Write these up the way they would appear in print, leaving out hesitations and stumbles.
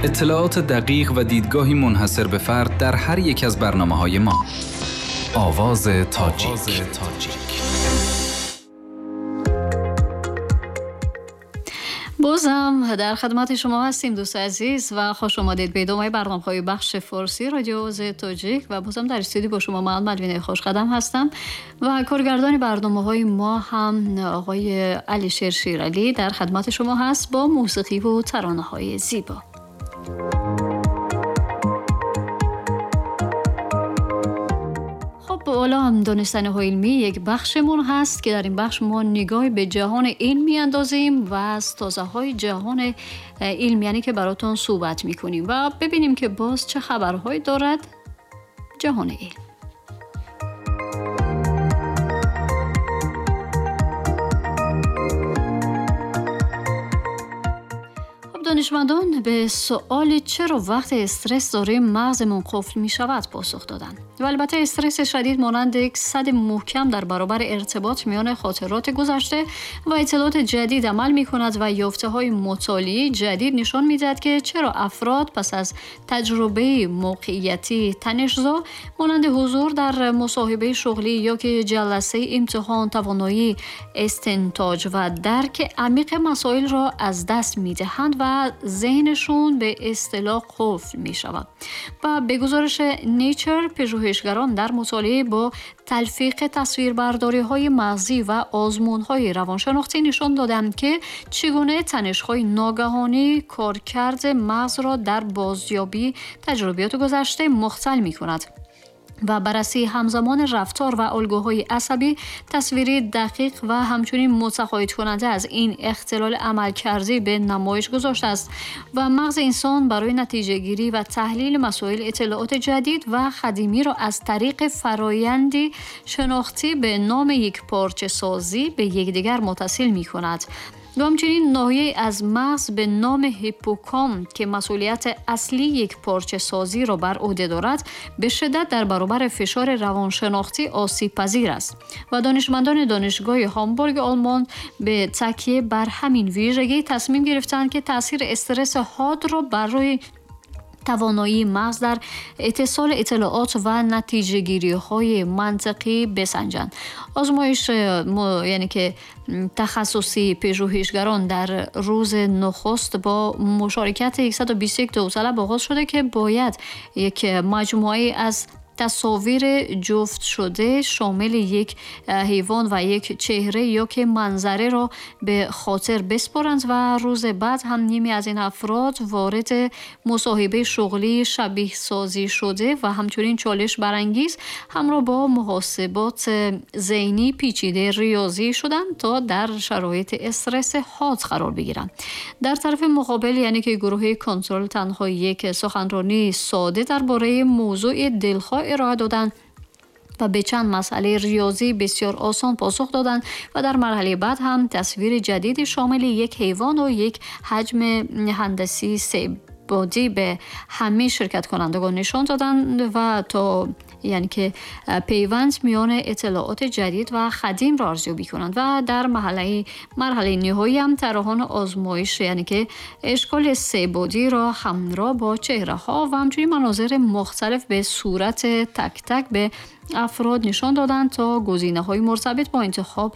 اطلاعات دقیق و دیدگاهی منحصر به فرد در هر یک از برنامه‌های ما. آواز تاجیک. بازم در خدمت شما هستیم دوست عزیز و خوش آمدید به ادامه برنامه‌های بخش فارسی رادیو آواز تاجیک و بازم در استودیو با شما من ملوینه خوشقدم هستم و کارگردان برنامه‌های ما هم آقای علیشیر شیرعلی در خدمت شما هست با موسیقی و ترانه‌های زیبا. حالا هم دانستنی‌های علمی یک بخشمون هست که در این بخش ما نگاه به جهان علم میاندازیم و از تازه‌های جهان علم یعنی که براتون صحبت میکنیم و ببینیم که باز چه خبرهایی دارد جهان علم. دانشمندان به سوال چرا وقت استرس داریم مغزمون قفل می شود پاسخ دادند. و البته استرس شدید مانند یک سد محکم در برابر ارتباط میان خاطرات گذشته و اطلاعات جدید عمل می کند و یافته های مطالعه جدید نشان می دهد که چرا افراد پس از تجربه موقعیتی تنش‌زا مانند حضور در مصاحبه شغلی یا که جلسه امتحان توانایی استنتاج و درک عمیق مسائل را از دست می دهند و ذهنشون به اصطلاح قفل می شود. و به گزارش نیچر پژوهشگران در مطالعه با تلفیق تصویربرداری های مغزی و آزمون های روانشناختی نشان دادند که چگونه تنش های ناگهانی کارکرد مغز را در بازیابی تجربیات گذشته مختل می کند و بررسی همزمان رفتار و الگوهای عصبی تصویری دقیق و همچنین متقاعد کننده از این اختلال عملکردی به نمایش گذاشته است و مغز انسان برای نتیجه گیری و تحلیل مسائل اطلاعات جدید و قدیمی را از طریق فرایندی شناختی به نام یک پارچه سازی به یکدیگر متصل می کند. و همچنین ناحیه از مغز به نام هیپوکامپ که مسئولیت اصلی یک پارچه سازی را بر عهده دارد به شدت در برابر فشار روانشناختی آسیب پذیر است و دانشمندان دانشگاه هامبورگ آلمان به تکیه بر همین ویژگی تصمیم گرفتند که تاثیر استرس حاد را بر روی توانایی مغز در اتصال اطلاعات و نتیجه گیری های منطقی بسنجند. آزمایش یعنی که تخصصی پژوهشگران در روز نخست با مشارکت 121 داوطلب آغاز شده که باید یک مجموعه از تصاویر جفت شده شامل یک حیوان و یک چهره یا که منظره را به خاطر بسپارند و روز بعد هم نیمی از این افراد وارد مصاحبه شغلی شبیه سازی شده و همچنین چالش برانگیز همراه با محاسبات ذهنی پیچیده ریاضی شدند تا در شرایط استرس حاد قرار بگیرند. در طرف مقابل یعنی که گروه کنترل تنها یک سخنرانی ساده درباره موضوع دلخواه ارائه دادند و به چند مسئله ریاضی بسیار آسان پاسخ دادند و در مرحله بعد هم تصویر جدید شامل یک حیوان و یک حجم هندسی سه بعدی به همه شرکت کنندگان نشان دادند و تا یعنی که پیوند میان اطلاعات جدید و قدیم را ارزیابی کنند و در مرحله نهایی هم طراحان آزمایش یعنی که اشکال سه بعدی را همراه با چهره ها و همچنین مناظر مختلف به صورت تک تک به افراد نشان دادند تا گزینه های مرتبط با انتخاب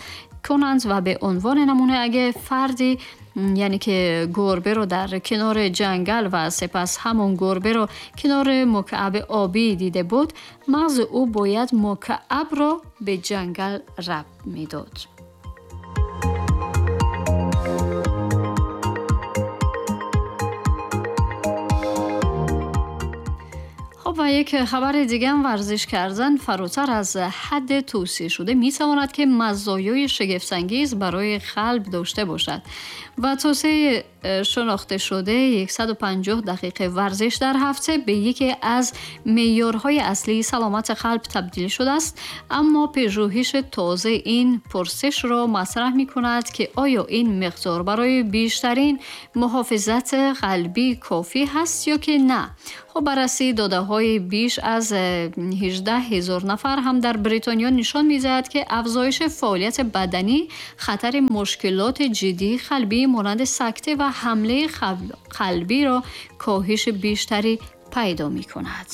کنند و به عنوان نمونه اگه فردی یعنی که گربه رو در کنار جنگل و سپس همون گربه رو کنار مکعب آبی دیده بود، مغز او باید مکعب رو به جنگل ربط میداد. خب و یک خبر دیگه هم، ورزش کردن فراتر از حد توصیه شده می تواند که مزایای شگفت‌انگیز برای قلب داشته باشد و توصیه شناخته شده 150 دقیقه ورزش در هفته به یکی از معیارهای اصلی سلامت قلب تبدیل شده است. اما پژوهش تازه این پرسش را مطرح می کند که آیا این مقدار برای بیشترین محافظت قلبی کافی هست یا که نه. خب بررسی داده های بیش از 18,000 نفر هم در بریتانیا نشان می‌دهد که افزایش فعالیت بدنی خطر مشکلات جدی قلبی مانند سکته و حمله قلبی را کاهش بیشتری پیدا می کند.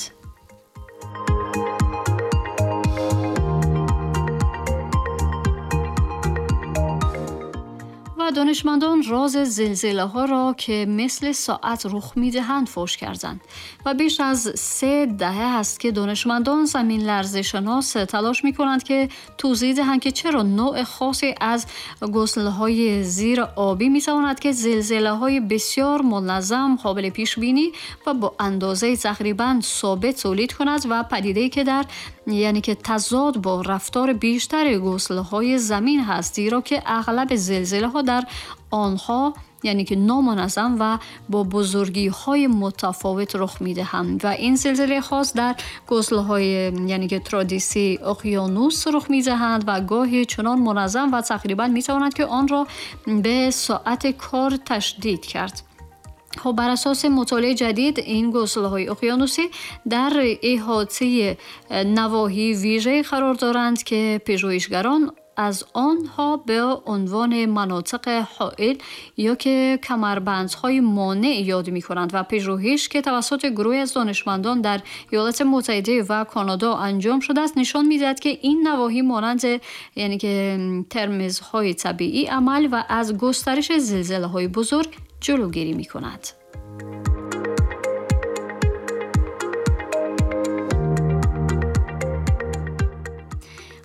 دانشمندان راز زلزله ها را که مثل ساعت رخ می دهند فاش کردند و بیش از 3 دهه است که دانشمندان زمین لرزه شناس تلاش می کنند که توضیح دهند که چرا نوع خاصی از گسله های زیر آبی می تواند که زلزله های بسیار منظم، قابل پیش بینی و با اندازه تقریبا ثابت تولید کند و پدیده‌ای که در یعنی که تضاد با رفتار بیشتر گسله های زمین هست، زیرا که اغلب زلزله ها در آنها یعنی که نامنظم و با بزرگی های متفاوت رخ می دهند و این زلزله خاص در گسله های یعنی که ترادیسی اقیانوس رخ می دهند و گاهی چنان منظم و تقریبا می تواند که آن را به ساعت کار تشدید کرد. خب بر اساس مطالعه جدید این گسله‌های اقیانوسی در احاطه نواحی ویژه قرار دارند که پژوهشگران از آنها به عنوان مناطق حائل یا که کمربندهای مانع یاد می‌کنند و پژوهش که توسط گروهی از دانشمندان در ایالات متحده و کانادا انجام شده است نشان می‌دهد که این نواحی مانند یعنی که ترمزهای طبیعی عمل و از گسترش زلزله‌های بزرگ جلوگیری می‌کند.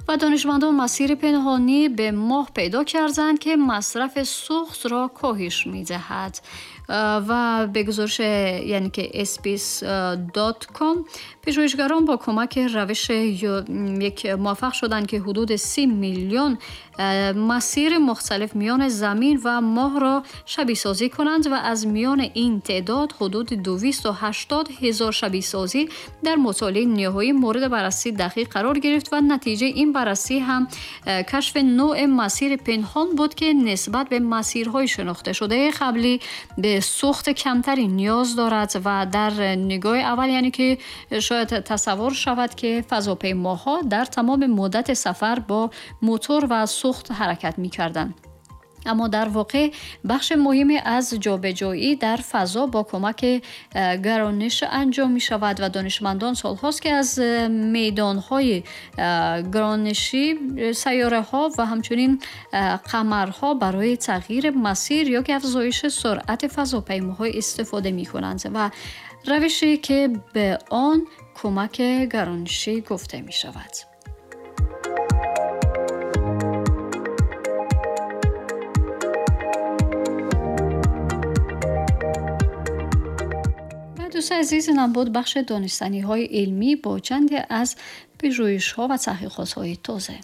و دانشمندان مسیر پنهانی به ماه پیدا کردند که مصرف سوخت را کاهش می‌دهد و به گزارش یعنی که space.com پژوهشگران با کمک روش یک موفق شدند که حدود 30 میلیون مسیر مختلف میان زمین و ماه را شبیه سازی کنند و از میان این تعداد حدود 280 هزار شبیه سازی در مطالعه نهایی مورد بررسی دقیق قرار گرفت و نتیجه این بررسی هم کشف نوع مسیر پنهان بود که نسبت به مسیرهای شناخته شده قبلی به سوخت کمتری نیاز دارد و در نگاه اول یعنی که شاید تصور شود که فضاپیماها در تمام مدت سفر با موتور و سوخت حرکت می‌کردند، اما در واقع بخش مهمی از جابجایی در فضا با کمک گرانش انجام می شود و دانشمندان سالهاست که از میدانهای گرانشی سیاره ها و همچنین قمرها برای تغییر مسیر یا که افزایش سرعت فضاپیماها استفاده می کنند و روشی که به آن کمک گرانشی گفته می شود. دوست عزیز، اینم بود بخش دانستنی‌های علمی با چندی از پژوهش‌ها و تحقیقات‌های تازه.